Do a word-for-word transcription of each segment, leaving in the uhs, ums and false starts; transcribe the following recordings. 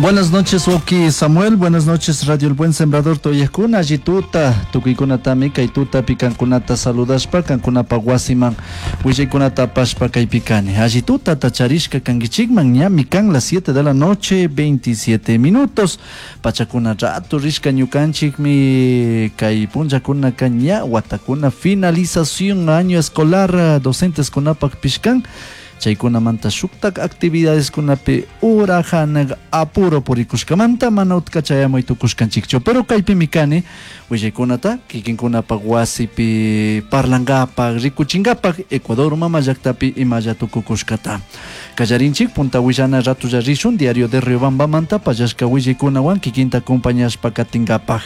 Buenas noches, Oki Samuel. Buenas noches, Radio El Buen Sembrador Toyakuna, Allituta, tukuykunatami kay kankunata saludashpa, kankunapa wasiman, willaykunata apashpa kaypi kani. Allituta tacharishka kankichikman, ñami kan las siete de la noche, veintisiete minutos. Pachakuna rato rishka ñukanchikmi kay punllakunaka ña watakuna finalización año escolar docentes kunapak pishkan. Chaykunamanta shuktak actividades kunapi urahanak apuro purikushkamanta mana utka chayamuy tukushkanchikchu, pero kaypimi kani willaykunata kikinkunapak wasipi parlankapak rikuchinkapak Ecuador mama llaktapi imalla tukukushkata. Kallarinchik punta willana ratulla rishun diario de Riobambamanta pallashka willaykunawan kikinta acompañashpa katinkapak.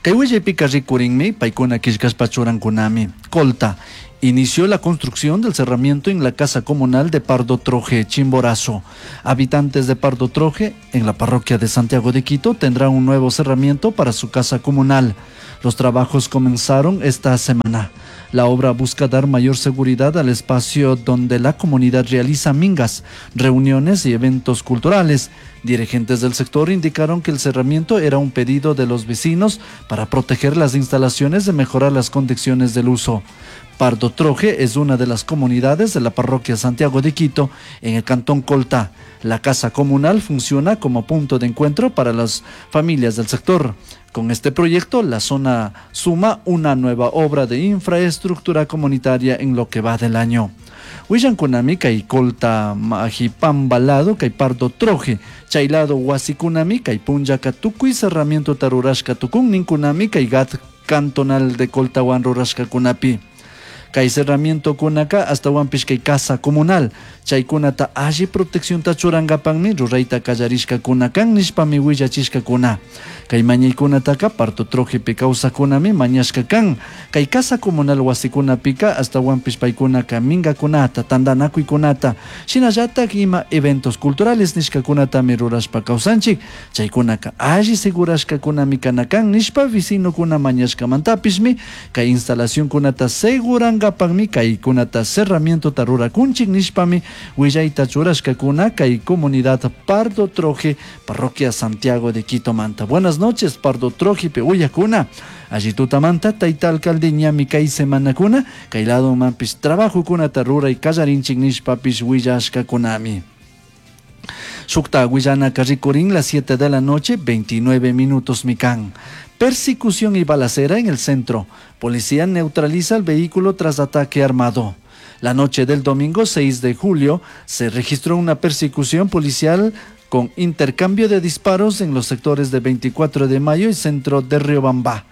Kay willaypika rikurinmi paykuna killkashpa churankunami. Colta inició la construcción del cerramiento en la casa comunal de Pardo Troje, Chimborazo. Habitantes de Pardo Troje, en la parroquia de Santiago de Quito, tendrán un nuevo cerramiento para su casa comunal. Los trabajos comenzaron esta semana. La obra busca dar mayor seguridad al espacio donde la comunidad realiza mingas, reuniones y eventos culturales. Dirigentes del sector indicaron que el cerramiento era un pedido de los vecinos para proteger las instalaciones y mejorar las condiciones del uso. Pardo Troje es una de las comunidades de la parroquia Santiago de Quito, en el cantón Colta. La casa comunal funciona como punto de encuentro para las familias del sector. Con este proyecto, la zona suma una nueva obra de infraestructura comunitaria en lo que va del año. Willankunami kay Colta Majipamba lado kay Pardo Troje, chay lado wasikunami kay punllaka tukuy cerramiento rurashka tukun ninkunami kay G A T cantonal de Coltawan rurashkakunapi. Kay cerramiento kunaka ashtawanpish kay casa comunal chaykunata alli proteccionta churankapakmi rurayta kallarishkakuna kan nishpami willachishkakuna. Kay mañaykunataka Pardo Trojepi kawsakkunami mañashka kan. Kay casa comunal wasikunapika ashtawanpish paykunaka mingakunata, tantanakuykunata, shinallatak ima eventos culturales nishkakunatami rurashpa kawsanchik, chaykunaka alli segurashkakunami kana kan nishpa vecinokuna mañashkamantapishmi kay instalacionkunata segurankapakmi kaykunata cerramientota rurakunchik nishpami willayta churashkakuna kay comunidad Pardo Troje, parroquia Santiago de Quito manta. Buenas noches, Pardo Troje uyakuna. Allí tutamanta tayta alcalde ñami kay semanakuna kay lado manpish trabajokunata ruray kallarinchik nishpapish willashkakunami. Shukta willanaka rikurin las siete de la noche, veintinueve minutos mikan. Persecución y balacera en el centro. Policía neutraliza el vehículo tras ataque armado. La noche del domingo seis de julio se registró una persecución policial con intercambio de disparos en los sectores de veinticuatro de mayo y centro de Riobamba.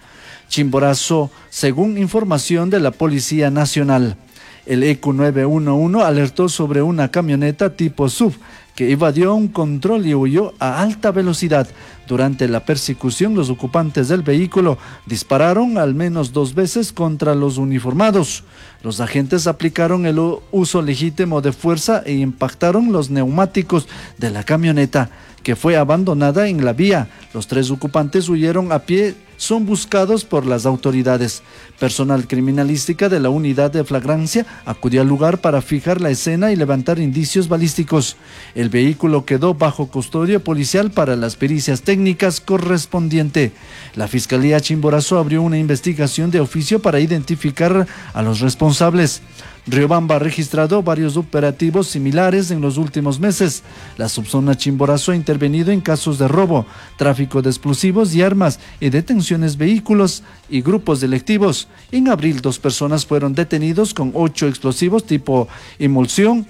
Chimborazo, según información de la Policía Nacional. El E C U nueve uno uno alertó sobre una camioneta tipo S U V que evadió un control y huyó a alta velocidad. Durante la persecución, los ocupantes del vehículo dispararon al menos dos veces contra los uniformados. Los agentes aplicaron el u-, uso legítimo de fuerza e impactaron los neumáticos de la camioneta, que fue abandonada en la vía. Los tres ocupantes huyeron a pie, son buscados por las autoridades. Personal criminalística de la unidad de flagrancia acudió al lugar para fijar la escena y levantar indicios balísticos. El vehículo quedó bajo custodia policial para las pericias técnicas correspondiente. La Fiscalía Chimborazo abrió una investigación de oficio para identificar a los responsables. Riobamba ha registrado varios operativos similares en los últimos meses. La subzona Chimborazo ha intervenido en casos de robo, tráfico de explosivos y armas y detenciones vehículos y grupos delictivos. En abril, dos personas fueron detenidos con ocho explosivos tipo emulsión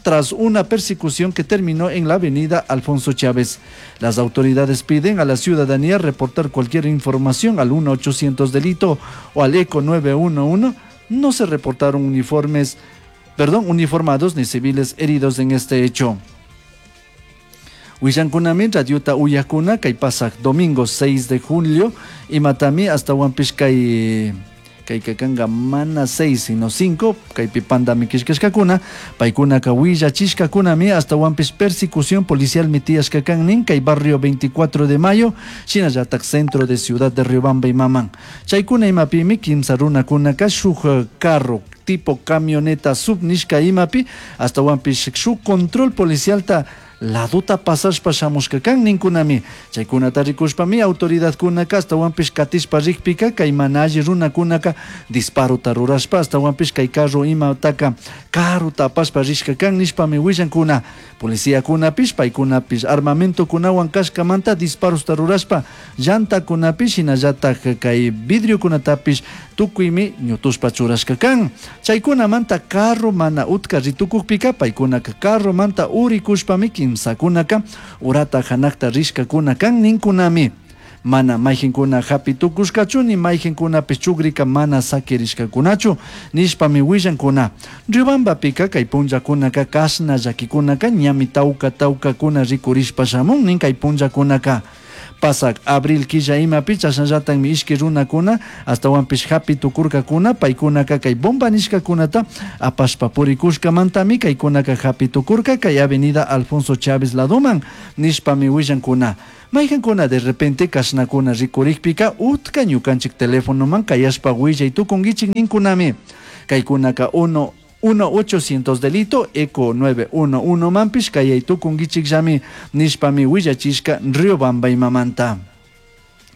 tras una persecución que terminó en la avenida Alfonso Chávez. Las autoridades piden a la ciudadanía reportar cualquier información al uno ochocientos delito o al E C O nueve uno uno. No se reportaron uniformes, perdón, uniformados ni civiles heridos en este hecho. Willankunami radiota uyakuna kay pasak domingo seis de julio imatami hasta Huampish kay kay kakanga mana seis sino cinco kay pipanda mikishkashkakuna paykunaka willachishkakunami hasta Huampish persecución policial mitiashkakannin kay barrio veinticuatro de mayo shinallatak centro de ciudad de Riobamba y Maman. Chaykuna imapimi kimsa runakunaka shuk carro tipo camioneta subnishka imapi hasta Huampish shuk control policial ta Ladota pasashpa shamushka kan ninkunami. Chaykunata rikushpami autoridadkunaka ashtawanpish katishpa rikpika kay mana alli runakunaka disparota rurashpa ashtawanpish kay carro imataka karuta apashpa rishka kan nishpami willankuna. Policiakunapish paykunapish armamentokunawan kashkamanta disparosta rurashpa llantakunapish shinallatak kay vidriokunatapish tukuymi ñutushpa churashka kan. Chaykunamanta carro mana utka ritukukpika paykunaka carromanta urikushpami kimsakunaka urata hanakta rishkakuna kan ninkunami. Mana mayqinkuna hapi tukushkachu ni mayqinkunapish chukrika mana sakirishkakunachu nishpami willankuna. Riobambapika kay punllakunaka kashna llakikunaka ñami tawka tawkakuna rikurishpa shamun nin kay punllakunaka. Pasak abril killa imapi chashnallatakmi ishki runakuna ashtawanpish hapi tukurkakuna paykunaka kay bomba nishkakunata apashpa purikushkamantami kaykunaka hapi tukurka kay avenida Alfonso Chávez ladoman nishpami willankuna. Mayqankuna de repente kashnakuna rikurikpika utka ñukanchik telefonoman kayashpa willay tukunkichik ninkunami. Kaykunaka uno uno ochocientos delito eco nueve uno uno manpish kayay tukunkichikllami nishpami willachishka Riobamba imamanta.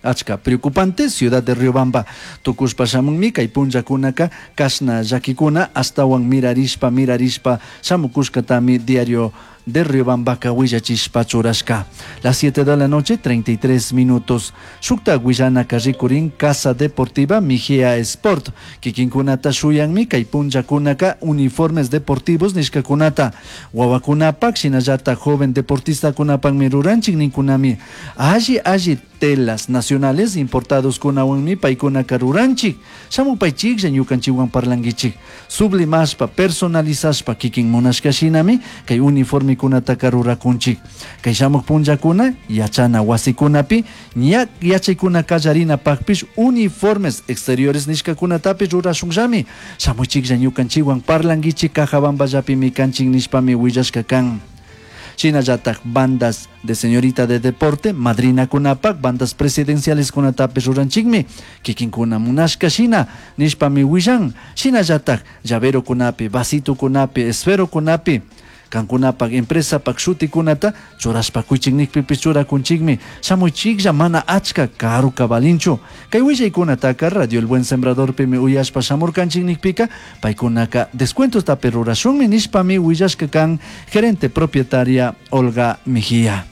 Achka preocupante ciudad de Riobamba tukushpa shamunmi kay punllakunaka kashna llakikuna ashtawan mirarishpa mirarishpa shamukushkatami diario de Riobambaka willachishpa churashka. Las siete de la noche, treinta y tres minutos. Shukta willanaka rikurin Casa Deportiva Mejía Sport. Kikinkunata shuyanmi kay punllakunaka uniformes deportivos nishkakunata. Wawakunapak shinallata joven deportistakunapakmi ruranchik ninkunami. Alli alli telas nacionales importados kunawanmi paykunaka ruranchik. Shamupaychiklla ñukanchikwan parlankichik. Sublimashpa personalizashpa kikin munashka shinami kay uniforme kunataka rurakunchik. Kay shamuq punllakuna yachana wasikunapi ña yachaykuna kallarinapakpish uniformes exteriores nishkakunatapish rurashunllami. Shamuychiklla ñukanchikwan parlankichik Cajabamballapimi kanchik nishpami willashka kan. Shinallatak bandas de señorita de deporte, madrina kunapak, bandas presidenciales kunatapish ruranchikmi, kikinkuna munashka shina, nishpami willan. Shinallatak llavero kunapi, vasito kunapi, esfero kunapi, kankunapak empresapak shutikunata churashpa kuychik nikpipish churakunchikmi. Shamuychiklla mana achka karuka valinchu. Kay willaykunataka Radio El Buen Sembradorpimi uyashpa shamurkanchik nikpika paykunaka descuentostapi rurashunmi nishpami willashka kan gerente propietaria Olga Mejía.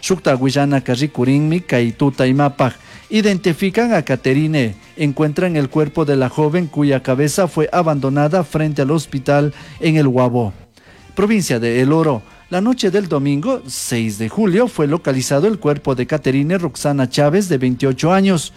Shukta willanaka rikurinmi kay tuta imapaj. Identifican a Caterine. Encuentran el cuerpo de la joven cuya cabeza fue abandonada frente al hospital en El Guabo, provincia de El Oro. La noche del domingo seis de julio fue localizado el cuerpo de Caterine Roxana Chávez, de veintiocho años,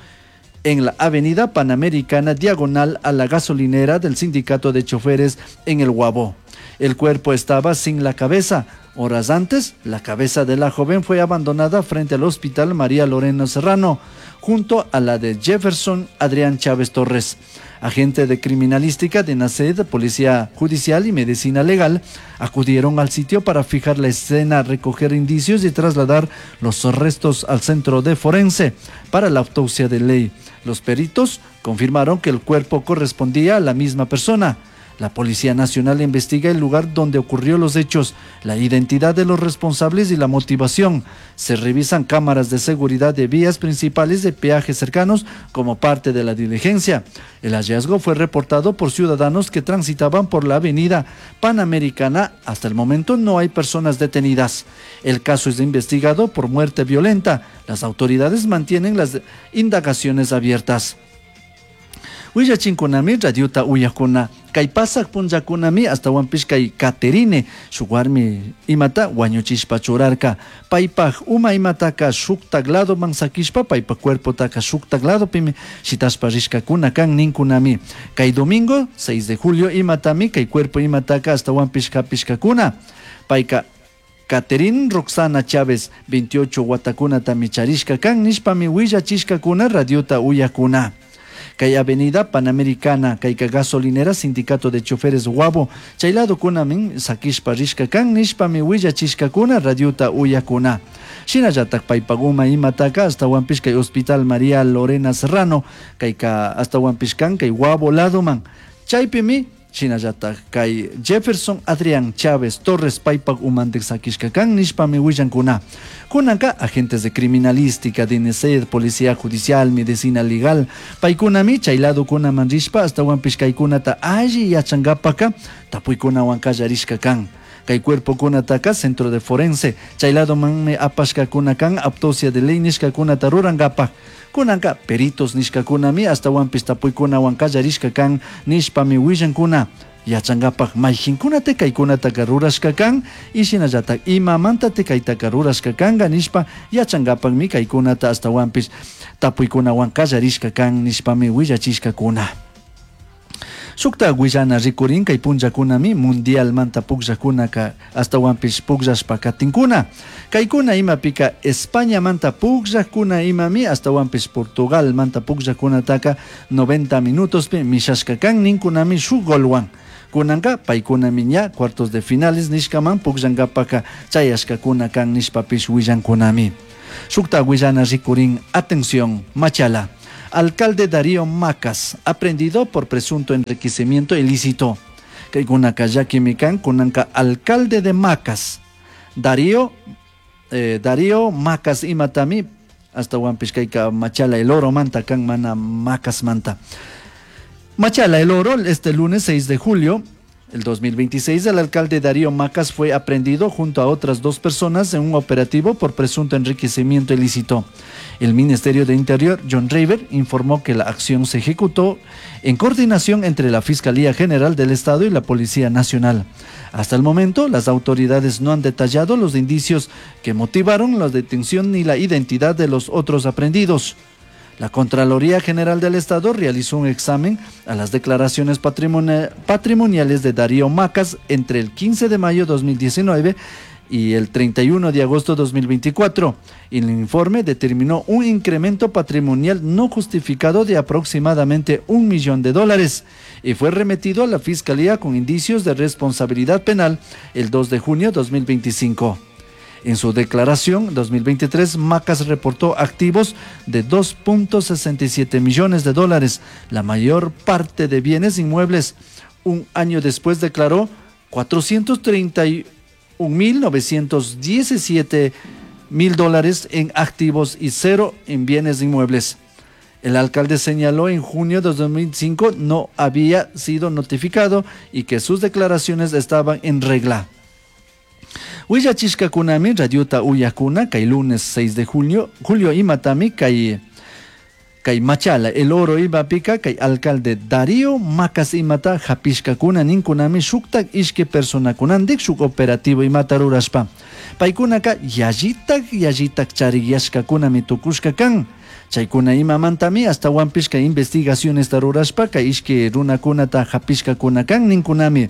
en la avenida Panamericana, diagonal a la gasolinera del sindicato de choferes en El Guabo. El cuerpo estaba sin la cabeza. Horas antes, la cabeza de la joven fue abandonada frente al hospital María Lorena Serrano, junto a la de Jefferson Adrián Chávez Torres. Agente de criminalística de NACED, Policía Judicial y Medicina Legal acudieron al sitio para fijar la escena, recoger indicios y trasladar los restos al centro de forense para la autopsia de ley. Los peritos confirmaron que el cuerpo correspondía a la misma persona. La Policía Nacional investiga el lugar donde ocurrió los hechos, la identidad de los responsables y la motivación. Se revisan cámaras de seguridad de vías principales de peajes cercanos como parte de la diligencia. El hallazgo fue reportado por ciudadanos que transitaban por la avenida Panamericana. Hasta el momento no hay personas detenidas. El caso es investigado por muerte violenta. Las autoridades mantienen las indagaciones abiertas. Willachinkunami radiota uyakuna kay pasaq punllakunami astawanpish kay Caterine shuk warmi imata wañuchishpa churarka paypaj uma imataka shuktak ladoman sakishpa paypaj cuerpotaka shuktak ladopimi shitashpa rishkakuna kan ninkunami kay domingo seis de julio imatami kay cuerpo imataka astawanpish hapishkakuna payka Caterín Roxana Chávez, veintiocho watakunatami charishka kan nishpami willachishkakuna radiota uyakuna. Kay avenida Panamericana, kayka gasolinera, sindicato de choferes Guabo, chaylado kunamin sakishpa rishka kan nishpami willachishkakuna radiota uyakuna. Shinallatak paypaguma imataka astawanpish kay Hospital María Lorena Serrano, kayka astawanpish kan kay Guabo ladoman. Chaypimi Shinallataj kay Jefferson Adrián Chávez Torres paypak umantik sakishka kan nishpami willankuna. Kunanka agentes de criminalística, DINESED, Policía Judicial, Medicina Legal, paykunami chay ladokunaman rishpa ashtawanpish kaykunata alli yachankapaka tapuykunawan kallarishka kan. Kay cuerpokunataka centro de forense chay ladomanmi apashkakuna kan autopsia de ley nishkakunata rurankapak. Kunanka peritos nishkakunami ashtawanpish tapuykunawan kallarishka kan nishpami willankuna. Yachankapak mayjinkunata kaykunataka rurashka kan y shinallatak imamanta kaytaka rurashka kanka nishpa yachankapakmi kaykunata ashtawanpish tapuykunawan kallarishka kan nishpami willachishkakuna. Shukta willana rikurin kay punllakunami mundialmanta pukllakunaka ashtawanpish pukllashpa katinkuna. Kaykuna imapika Españamanta pukllakuna imami ashtawanpish Portugalmanta pukllakunataka noventa minutospi mishashka kan ninkunami shuk golwan. Kunanka paykunami ña cuartos de finales nishkaman pukllankapaka chayashkakuna kan nishpapish willankunami. Shukta willana rikurin, atención, Machala. Alcalde Darío Macas, aprendido por presunto enriquecimiento ilícito. Kaykunaka llakimi kan, kunanka alcalde de Macas, Darío, eh, Darío Macas imatami, hasta kayka Machala el Oro manta kan mana Macas manta. Machala el Oro, este lunes seis de julio el dos mil veintiséis, el alcalde Darío Macas fue aprehendido junto a otras dos personas en un operativo por presunto enriquecimiento ilícito. El Ministerio de Interior, John Rayber, informó que la acción se ejecutó en coordinación entre la Fiscalía General del Estado y la Policía Nacional. Hasta el momento, las autoridades no han detallado los indicios que motivaron la detención ni la identidad de los otros aprehendidos. La Contraloría General del Estado realizó un examen a las declaraciones patrimoni-, patrimoniales de Darío Macas entre el quince de mayo de dos mil diecinueve y el treinta y uno de agosto de dos mil veinticuatro. El informe determinó un incremento patrimonial no justificado de aproximadamente un millón de dólares y fue remitido a la Fiscalía con indicios de responsabilidad penal el dos de junio de dos mil veinticinco. En su declaración dos mil veintitrés, Macas reportó activos de dos punto sesenta y siete millones de dólares, la mayor parte de bienes inmuebles. Un año después declaró cuatrocientos treinta y un mil novecientos diecisiete mil dólares en activos y cero en bienes inmuebles. El alcalde señaló en junio de dos mil cinco no había sido notificado y que sus declaraciones estaban en regla. Willachishkakunami radiota uyakuna kay lunes seis de julio, julio imatami kay, kay Machala el Oro imapika kay alcalde Darío Macas imata hapishkakuna ninkunami shuktak ishki personakunandik shuk operativo imata rurashpa. Paykunaka yallitak yallitak chariyashkakunami tukushka kan. Chaykuna imamantami hasta wampishka investigaciones rurashpa kay ishki runakunata hapishkakuna kan ninkunami.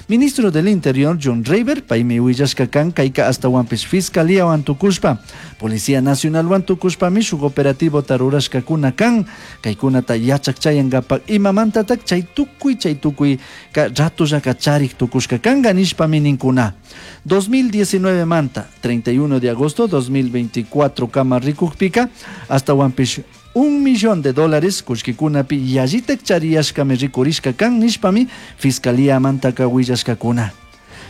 Ministro del Interior John Rayber paymi willashka kan kayka hasta wampish Fiscalía wan tukushpa, Policía Nacional wan tukushpami shuk operativo tarurashkakuna kan kaykunata yachak chayankapak imamantatak chay tukuy chay tukuy ka ratullaka charik tukushka kanka nishpami ninkuna. dos mil diecinueve manta treinta y uno de agosto dos mil veinticuatro kama rikukpika hasta wampish un millón de dólares kullkikunapi yallitak chariyashkami rikurishka kan nishpami Fiscalía mantaka willashkakuna.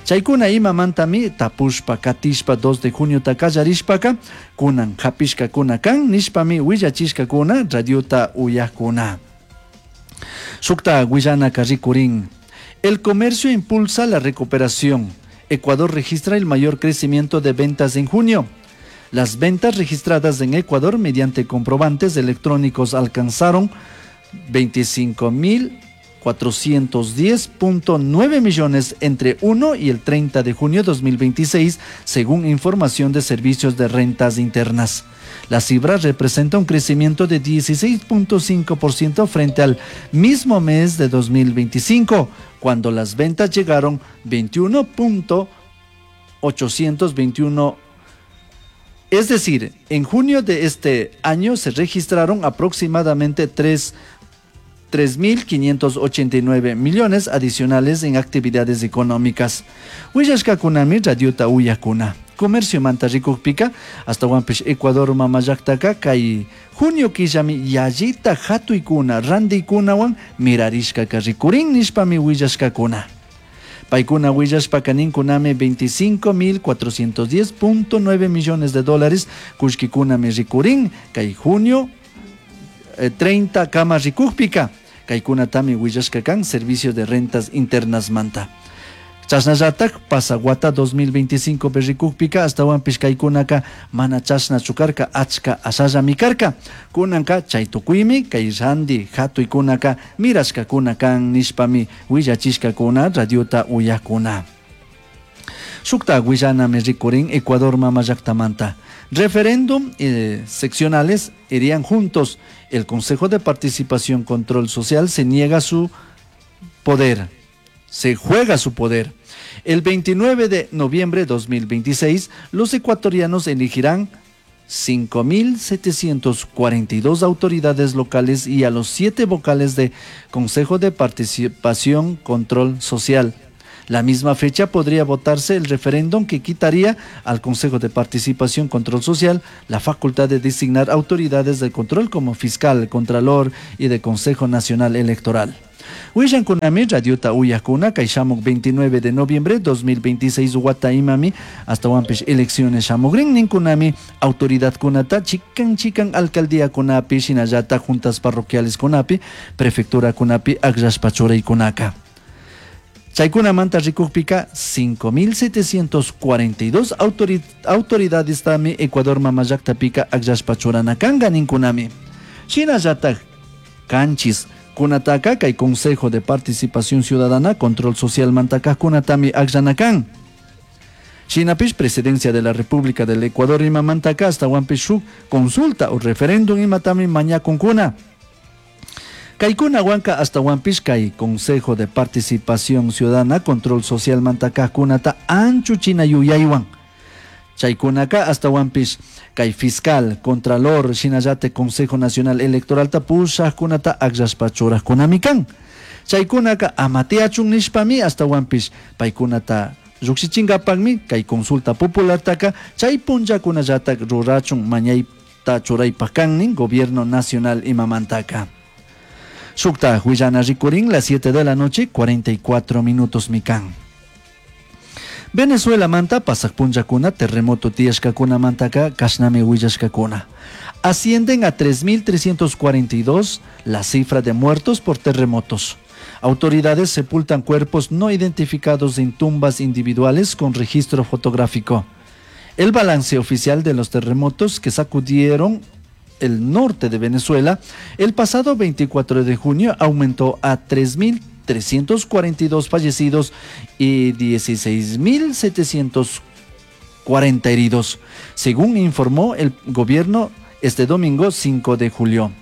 Chaykuna imamantami tapushpa katishpa dos de junio takallarishpaka kunan hapishkakuna kan nishpami willachishkakuna radiota uyakuna. Shukta willanaka rikurin. El comercio impulsa la recuperación. Ecuador registra el mayor crecimiento de ventas en junio. Las ventas registradas en Ecuador mediante comprobantes electrónicos alcanzaron veinticinco mil cuatrocientos diez punto nueve millones entre uno y el treinta de junio de dos mil veintiséis, según información de servicios de rentas internas. La cifra representa un crecimiento de dieciséis punto cinco por ciento frente al mismo mes de dos mil veinticinco, cuando las ventas llegaron veintiuno punto ochocientos veintiuno. Es decir, en junio de este año se registraron aproximadamente tres tres mil quinientos ochenta y nueve millones adicionales en actividades económicas. Willashkakunami radiota uyakuna. Comercio manta rikukpika, ashtawanpish Ecuador mamallaktaka kay junio killami yallita hatuykuna, randikunawan mirarishkaka rikurin nishpami willashkakuna. Paykuna willashpaka ninkunami veinticinco mil cuatrocientos diez punto nueve millones de dólares kullkikunami rikurin kay junio, eh, treinta kama rikukpika. Kaykunatami willashka kan Servicio de Rentas Internas manta. Chashnallatak pasaguata dos mil veinticinco berrikukpika ashtawanpish kaykunaka mana chashna chukarka achka ashallami karka. Kunanka chay tukuymi kay randi hatuykunaka mirashkakuna kan nishpami willachishkakuna radiota uyakuna. Shukta willanami rikurin Ecuador mama llaktamanta. Referéndum, eh, seccionales irían juntos. El Consejo de Participación Control Social se niega su poder, se juega su poder. El veintinueve de noviembre de dos mil veintiséis, los ecuatorianos elegirán cinco mil setecientos cuarenta y dos autoridades locales y a los siete vocales de Consejo de Participación Control Social. La misma fecha podría votarse el referéndum que quitaría al Consejo de Participación Control Social la facultad de designar autoridades de control como fiscal, contralor y de Consejo Nacional Electoral. Willankunami radiota uyakuna kay shamuk veintinueve de noviembre dos mil veintiséis wata imami hasta wampish elecciones shamugrin ninkunami autoridad kunata chikan chikan alcaldía kunapi shinallata juntas parroquiales kunapi prefectura kunapi akllashpa churaykunaka. Chaykunamanta rikukpika cinco mil setecientos cuarenta y dos autori-, autoridades tami Ecuador mamallaktapika akllashpa churanakanga ninkunami. Shinallata kanchis kunataka kay Consejo de Participación Ciudadana Control Social mantaka kunatami akllanakan. Shinapish Presidencia de la República del Ecuador imamantaka hasta wampish shuk consulta o referéndum imatami mañakunkuna. Kaikuna wanka hasta wampish kay Consejo de Participación Ciudadana Control Social mantaka kunata anchuchina yuyaywan. Chaykunaka hasta wampish kay fiscal, contralor, shinallate Consejo Nacional Electoral ta pushajkunata akllashpa churajkunami kan. Chaykunaka amateachun nishpami hasta wampish paykunata llukshichinkapakmi kay consulta populartaka chay punllakunallatak rurachun mañayta churaypak kannin Gobierno Nacional imamantaka. Shukta willana rikurin las siete de la noche, cuarenta y cuatro minutos mikan. Venezuela manta pasak punllakuna terremoto tiyashkakuna mantaka kashnami willashkakuna. Ascienden a tres mil trescientos cuarenta y dos la cifra de muertos por terremotos. Autoridades sepultan cuerpos no identificados en tumbas individuales con registro fotográfico. El balance oficial de los terremotos que sacudieron el norte de Venezuela el pasado veinticuatro de junio aumentó a tres mil trescientos cuarenta y dos fallecidos y dieciséis mil setecientos cuarenta heridos, según informó el gobierno este domingo cinco de julio.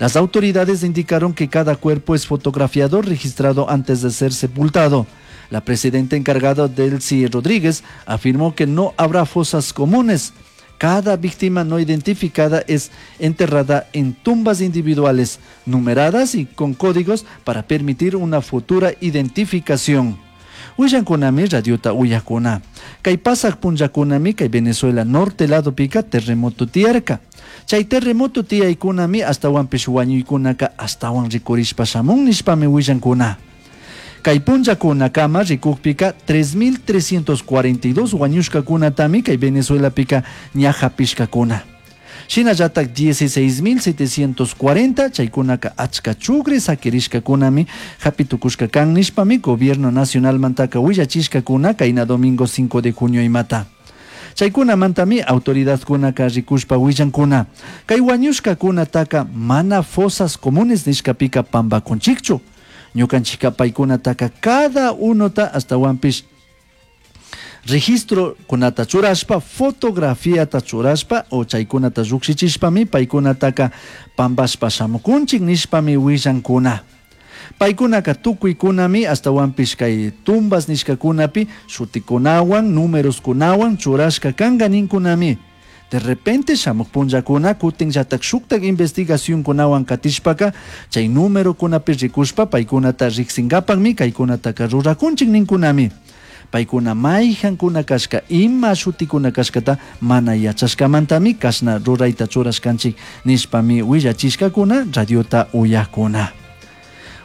Las autoridades indicaron que cada cuerpo es fotografiado, registrado antes de ser sepultado. La presidenta encargada Delcy Rodríguez afirmó que no habrá fosas comunes. Cada víctima no identificada es enterrada en tumbas individuales, numeradas y con códigos para permitir una futura identificación. Willankunami radiota uyakuna. Kay pasak punllakunami kay Venezuela norte lado pica terremoto tiyarka. Chay terremoto tiyaykunami ashtawanpish wañuykunaka ashtawan rikurishpa shamun nishpami willankuna. Kay punllakunakama rikukpika tres mil trescientos cuarenta y dos wañushkakunatami kay Venezuela pica ñajapishkakuna. Shinallatak dieciséis mil setecientos cuarenta chaykunaka achka chugri sakirishkakunami hapitukushka kan nishpami Gobierno Nacional mantaka willachishkakuna kayna domingo cinco de junio imata. Chaykunamantami autoridadkunaka rikushpa willankuna. Kay wañushkakunataka mana fosas comunes nishkapika pampakunchikchu. Ñukanchika paykunataka cada unota ashtawanpish registro kunata churashpa, fotografiata churashpa o chaykunata llukshichishpami paykunataka pampashpa shamukunchik nishpami willankuna. Paykunaka tukuykunami ashtawanpish kay tumbas nishkakunapi shutikunawan, numeroskunawan churashka kanka ninkunami. De repente shamuj punllakuna kutinllatak shuktak investigacionkunawan katishpaka chay numerokunapi rikushpa paykunata riksinkapakmi kaykunataka rurakunchik ninkunami. Paykuna mayjankuna kashka ima shutikuna kashkata mana yachashkamantami kashna rurayta churashkanchik nishpami willachishkakuna radiota uyakuna.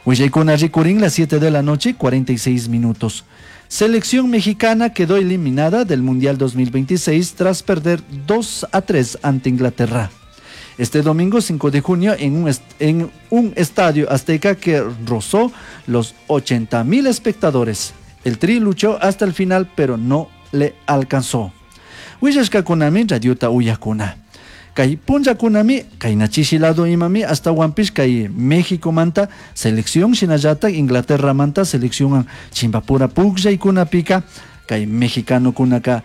Willaykuna rikurin las siete de la noche, cuarenta y seis minutos. Selección mexicana quedó eliminada del Mundial dos mil veintiséis tras perder dos a tres ante Inglaterra. Este domingo cinco de junio en un est-, en un estadio azteca que rozó los ochenta mil espectadores. El Tri luchó hasta el final, pero no le alcanzó. Willashkakunami radiota uyakuna. Kay punllakunami, kay nachishi lado imami, hasta Huampish, kay México manta selección, shinallata Inglaterra manta selección chimbapura pukllaykunapika, kay mexicano kunaka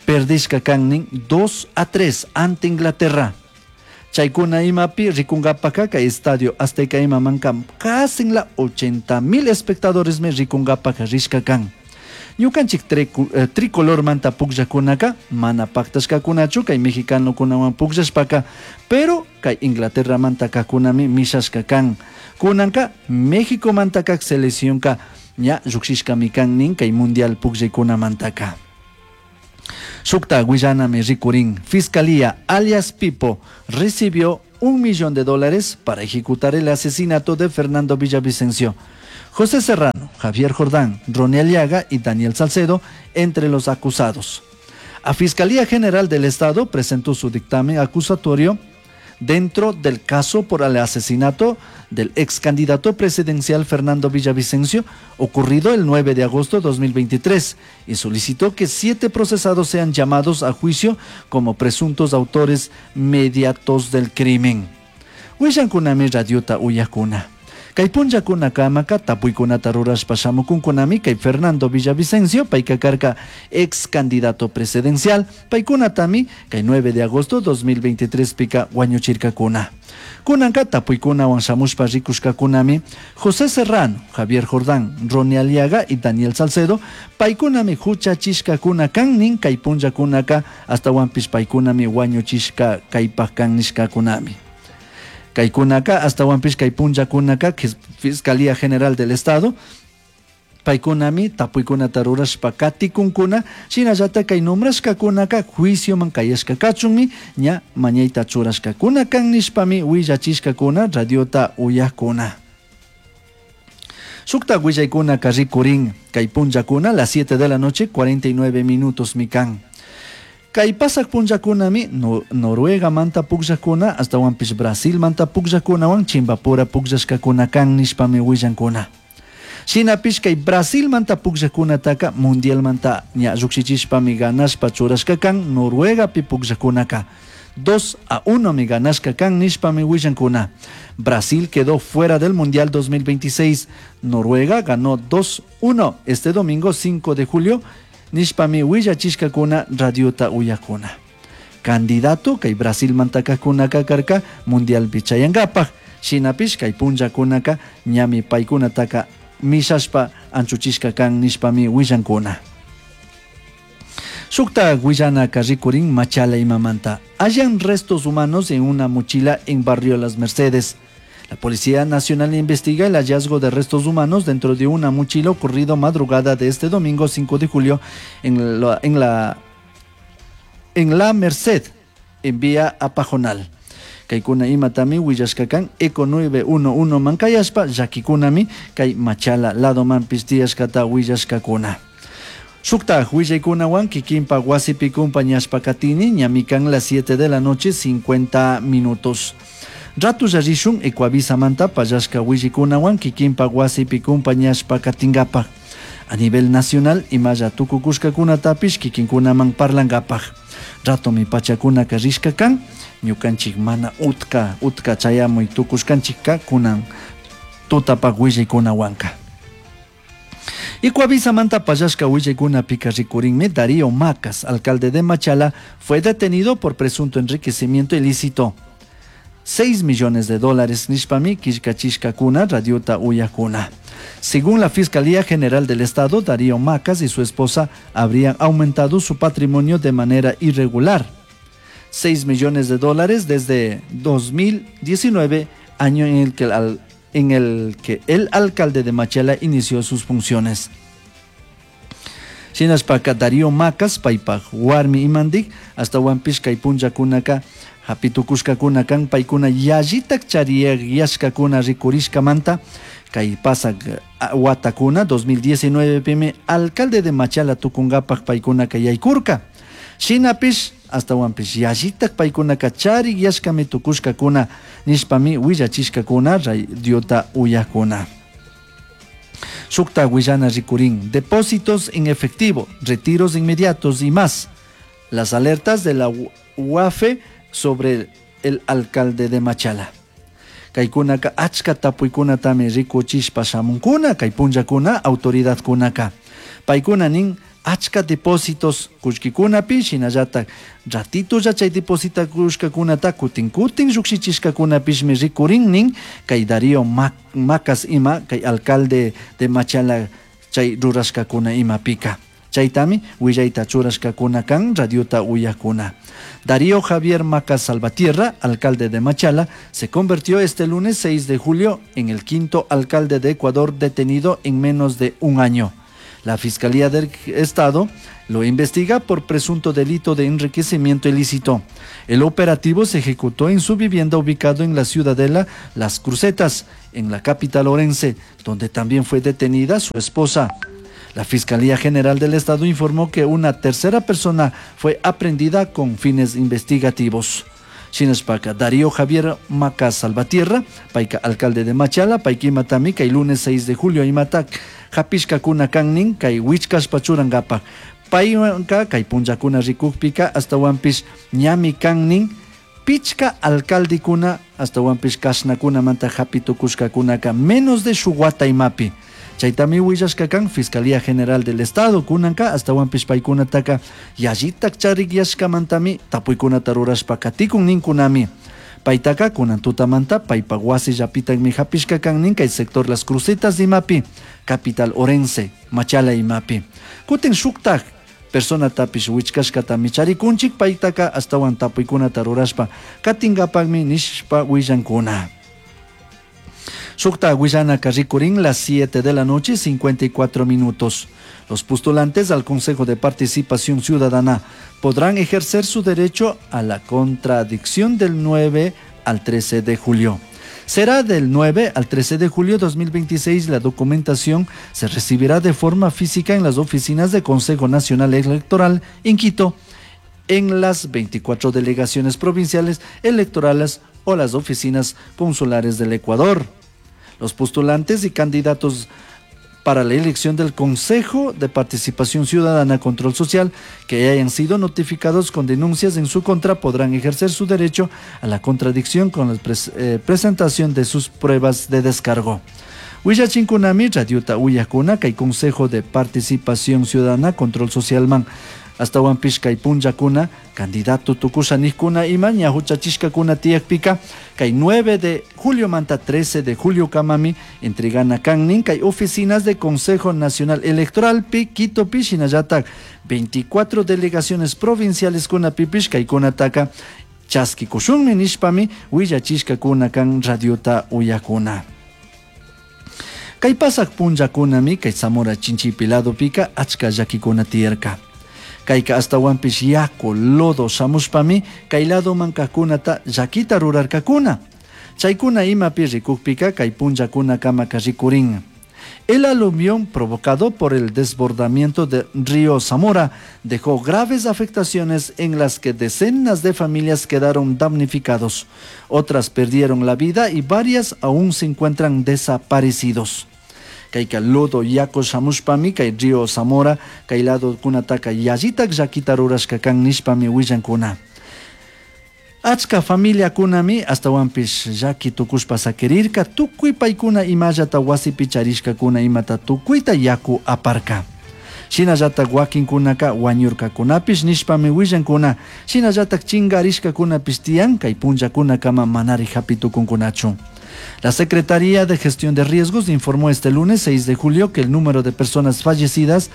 perdishka kannin dos a tres ante Inglaterra. Chaykuna imapi rikunkapaka kay estadio Azteca imamanka casi la ochenta mil espectadores me rikunkapaka rishka kan. Ñukanchik triku, eh, tricolor manta pukllakunaka mana paktashkakunachu kay mexicano kunawan pukllashpaka, pero kay Inglaterra manta kakunami mishashka kan. Kunanka México manta kak seleccionka ña llukshishkami kan nin kay mundial pukllaykunamantaka. Shukta willanami rikurin. Fiscalía alias Pipo recibió un millón de dólares para ejecutar el asesinato de Fernando Villavicencio. José Serrano, Javier Jordán, Ronnie Aliaga y Daniel Salcedo entre los acusados. A Fiscalía General del Estado presentó su dictamen acusatorio dentro del caso por el asesinato del ex candidato presidencial Fernando Villavicencio, ocurrido el nueve de agosto de dos mil veintitrés, y solicitó que siete procesados sean llamados a juicio como presuntos autores mediatos del crimen. Willankunami radiota uyakuna. Kay punllakuna kamaka tapuykunata rurashpa shamukunkunami kay Fernando Villavicencio, payka karka ex candidato presidencial, paykunatami kay nueve de agosto dos mil veintitrés pika wañuchirkakuna. Kunanka tapuykunawan shamushpa rikushkakunami José Serrano, Javier Jordán, Ronnie Aliaga y Daniel Salcedo, paykunami huchachishkakuna kannin kay punllakunaka hasta wanpish paykunami wañuchishka kaypaj kan nishkakunami. Kaykunaka, hasta wanpish kay punllakunaka, Fiscalía General del Estado, paykunami tapuykunata rurashpa katikunkuna, shinallata kay nombrashkakunaka juicioman kayashka kachunmi, ña mañayta churashkakuna kan nishpami willachishkakuna radiota uyakuna. Shukta willaykunaka rikurin kay punllakuna las siete de la noche, cuarenta y nueve minutos mikan. Kay pasak punllakunami no, Noruega manta pukllakuna, hasta wanpish Brasil manta pukllakunawan chimbapura pukllashkakuna kan nishpami willankuna. Shinapish kay Brasil manta pukllakunataka mundial manta ña llukshichishpami ganashpa churashka kan Noruegapi pukllakunaka. dos a uno mi ganashka kan nishpami willankuna. Brasil quedó fuera del Mundial dos mil veintiséis. Noruega ganó dos uno este domingo cinco de julio. Nishpami willachishkakuna radiota uyakuna. Candidato kay Brasil mantakakunaka karka Mundial pichayankapaj. Shinapish kay punllakunaka ñami paykunataka mishashpa anchuchishka kan nishpami willankuna. Shukta willanaka rikurin Machala imamanta. Hallan restos humanos en una mochila en barrio Las Mercedes. La Policía Nacional investiga el hallazgo de restos humanos dentro de una mochila ocurrido madrugada de este domingo cinco de julio en la, en la, en la Merced, en vía a Pajonal. Kaikuna imatami willashkakan Eco nueve uno uno mankayashpa llakikunami kay Machala lado manpis tiyashkata willashkakuna. Shukta willaykunawan kikinpa wasipi kumpañashpa katini ñamikan las siete de la noche cincuenta minutos. Ratu yarishun Ecuavisa manta payashka willikunawan kikinpa wasipi kumpañashpa katingapaj. A nivel nacional imalla tukukushkakunatapish kikinkunaman parlangapaj. Rato mi pachakunaka rishka kan, ñukanchik mana utka, utka chayamuy tukushkanchikka kunan tutapaj willikunawanka. Ecuavisa manta payashka willaykunapika rikurinmi Darío Macas, alcalde de Machala, fue detenido por presunto enriquecimiento ilícito. seis millones de dólares nishpami kishkachishkakuna radiota uyakuna. Según la Fiscalía General del Estado, Darío Macas y su esposa habrían aumentado su patrimonio de manera irregular. seis millones de dólares desde dos mil diecinueve, año en el que el, en el que el alcalde de Machala inició sus funciones. Shinashpaka Darío Macas, paypaj warmi imandik, ashtawanpish kay punllakunaka hapitukushkakuna kan, paykuna yallitak chariyashkakuna rikurishkamanta, kay pasak watakuna dos mil diecinueve pimi alcalde de Machala tukunkapak paykunaka yaykurka. Shinapish ashtawanpish yallitak paykunaka chariyashkami tukushkakuna nishpami willachishkakuna radiota uyakuna. Shukta willana rikurin, depósitos en efectivo, retiros inmediatos y más. Las alertas de la U A F E sobre el alcalde de Machala. Kaykunaka achka tapuykunatami rikuchishpa shamunkuna, kay punllakuna autoridadkunaka. Paykuna nin achka depósitos kullkikunapi, shinallatak ratitolla chay depositakushkakunata kutin kutin llukshichishkakunapishmi rikurin nin kay Darío Macas ima, kay alcalde de Machala chay rurashkakuna imapika. Chaytami willayta churashkakuna kan radiota uyakuna. Darío Javier Macas Salvatierra, alcalde de Machala, se convirtió este lunes seis de julio en el quinto alcalde de Ecuador detenido en menos de un año. La Fiscalía del Estado lo investiga por presunto delito de enriquecimiento ilícito. El operativo se ejecutó en su vivienda ubicado en la ciudadela Las Crucetas, en la capital orense, donde también fue detenida su esposa. La Fiscalía General del Estado informó que una tercera persona fue aprehendida con fines investigativos. Shinashpaka, Darío Javier Macas Salvatierra, payka alcalde de Machala, paykimatami, kay lunes seis de julio imatak, hapishkakuna kannin, kay wichkashpa churankapak. Paywanka, kay punllakuna rikukpika, ashtawanpish ñami kannin, pichka alcaldekuna, ashtawanpish kashnakunamanta hapitukushkakunaka menos de shuk wata imapi. Chaytami willashka kan Fiscalía General del Estado kunanka ashtawanpish paykunataka yallitak charikyashkamantami tapuykunata rurashpa katikun ninkunami. Paytaka kunan tutamanta paypak wasi llapitakmi hapishka kan nin kay sector Las Crucetas imapi, capital Orense, Machala imapi. Kutin shuktak personatapish wichkashkatami charikunchik paytaka ashtawan tapuykunata rurashpa katinkapakmi nishpa willankuna. Shukta willana rikurin las siete de la noche, cincuenta y cuatro minutos. Los postulantes al Consejo de Participación Ciudadana podrán ejercer su derecho a la contradicción del nueve al trece de julio. Será del nueve al trece de julio dos mil veintiséis. La documentación se recibirá de forma física en las oficinas del Consejo Nacional Electoral en Quito, en las veinticuatro delegaciones provinciales electorales o las oficinas consulares del Ecuador. Los postulantes y candidatos para la elección del Consejo de Participación Ciudadana Control Social que hayan sido notificados con denuncias en su contra podrán ejercer su derecho a la contradicción con la pres-, eh, presentación de sus pruebas de descargo. Willachinkunami, Radiota Uyakuna, kay Consejo de Participación Ciudadana Control Social man. Ashtawanpish kay punllakuna, candidato tukusha nijkuna ima ña huchachishkakuna tiyakpika, kay nueve de julio manta trece de julio kamami entregana kannin kay oficinas de Consejo Nacional Electoral pi Quito pi shinallatak veinticuatro delegaciones provinciales kuna pipish kay kunataka chaskikushunmi nishpami willachishkakuna kan radiota uyakuna. Kay pasak punllakunami kay Zamora Chinchipe ladopika achka llakikuna tiyarka. Kayka ashtawanpish yaku lodo shamushpami kay ladoman kajkunata llakita rurarkakuna. Chaykuna imapi rikukpika kay punllakuna kamaka rikurin. El aluvión provocado por el desbordamiento del río Zamora dejó graves afectaciones en las que decenas de familias quedaron damnificados. Otras perdieron la vida y varias aún se encuentran desaparecidos. Kayka lodo yaku shamushpami kay río Zamora kay lado kunataka yallitak llakita rurashka kan nishpami willankuna. Achka familiakunami ashtawanpish llaki tukushpa sakirirka tukuy paykuna imallata wasipi charishkakuna imata tukuyta yaku aparka. Shinallatak wakinkunaka wañurkakunapish nishpami willankuna. Shinallatak chingarishkakunapish tiyan kay punllakunakama manari hapi tukunkunachu. La Secretaría de Gestión de Riesgos informó este lunes seis de julio que el número de personas fallecidas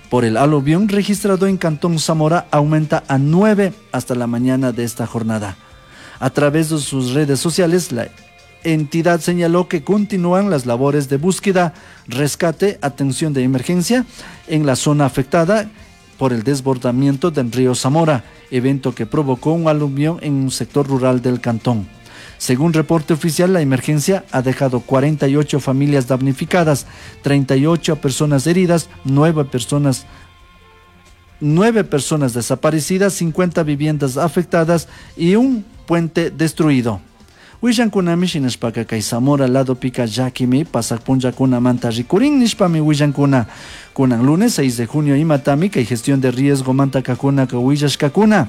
por el aluvión registrado en Cantón Zamora aumenta a nueve hasta la mañana de esta jornada. A través de sus redes sociales, la entidad señaló que continúan las labores de búsqueda, rescate, atención de emergencia en la zona afectada por el desbordamiento del río Zamora, evento que provocó un aluvión en un sector rural del cantón. Según reporte oficial, la emergencia ha dejado cuarenta y ocho familias damnificadas, treinta y ocho personas heridas, nueve personas, nueve personas desaparecidas, cincuenta viviendas afectadas y un puente destruido. Willankunami shinashpaka kay Zamora lado pika llakimi pasak punllakunamanta rikurin nishpami willankuna. Kunan lunes seis de junio imatami kay gestión de riesgo manta kakunaka willashkakuna.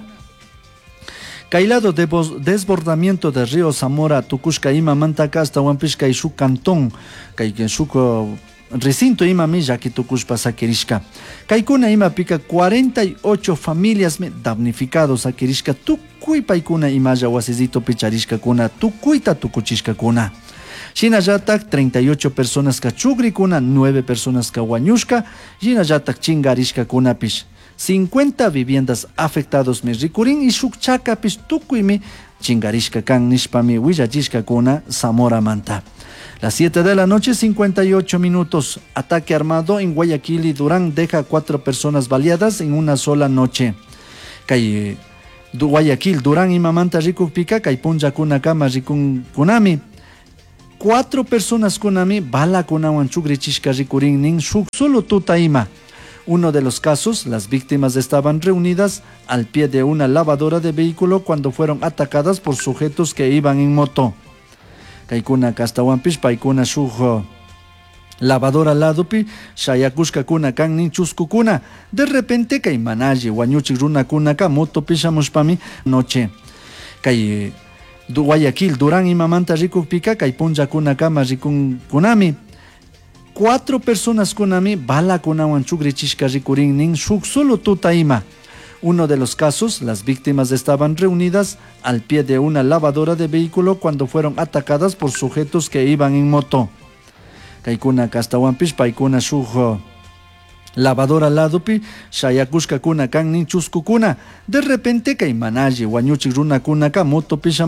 Kay lado de desbordamiento del río Zamora tukushka ima mantaka astawanpish kay shuk cantón, kay shuk recinto imami llaki tukushpa sakirishka. Kaykuna imapika cuarenta y ocho familias me damnificados sakirishka tukuy paykuna imalla wasisito picharishkakuna tukuyta tukuchishkakuna. Shinallatak treinta y ocho personas kachugrikuna, nueve personas kawañushka, shinallatak chingarishkakunapish. Cincuenta viviendas afectados mi rikurin y shuk chakapish tukuymi chingarishka kan nishpami willachishkakuna Zamora manta. Las siete de la noche, cincuenta y ocho minutos. Ataque armado en Guayaquil y Durán deja cuatro personas baleadas en una sola noche. Kay Guayaquil, Durán y Mamanta rikukpika, kay punllakuna kama rikunkunami. Cuatro personas kunami balakunawan chugrichishka rikurin nin shuk solo tuta ima. Uno de los casos, las víctimas estaban reunidas al pie de una lavadora de vehículo cuando fueron atacadas por sujetos que iban en moto. Kaykuna kastawanpish paykuna shuk lavadora ladopi shayakushkakuna kan nin chuskukuna. De repente kay manalle wañuchik runakunaka motopi shamushpami noche. Kay Guayaquil, Durán y Mamanta rikukpika kay punllakunakama rikunkunami. Cuatro personas kunami balakunawan chugrichishka rikurin nin shuk solo tuta ima. Uno de los casos, las víctimas estaban reunidas al pie de una lavadora de vehículo cuando fueron atacadas por sujetos que iban en moto. Kaykuna kastawanpish paykuna shuk lavadora ladopi shayakushkakuna kan nin chuskukuna. De repente kay manalle wañuchik runakunaka motopi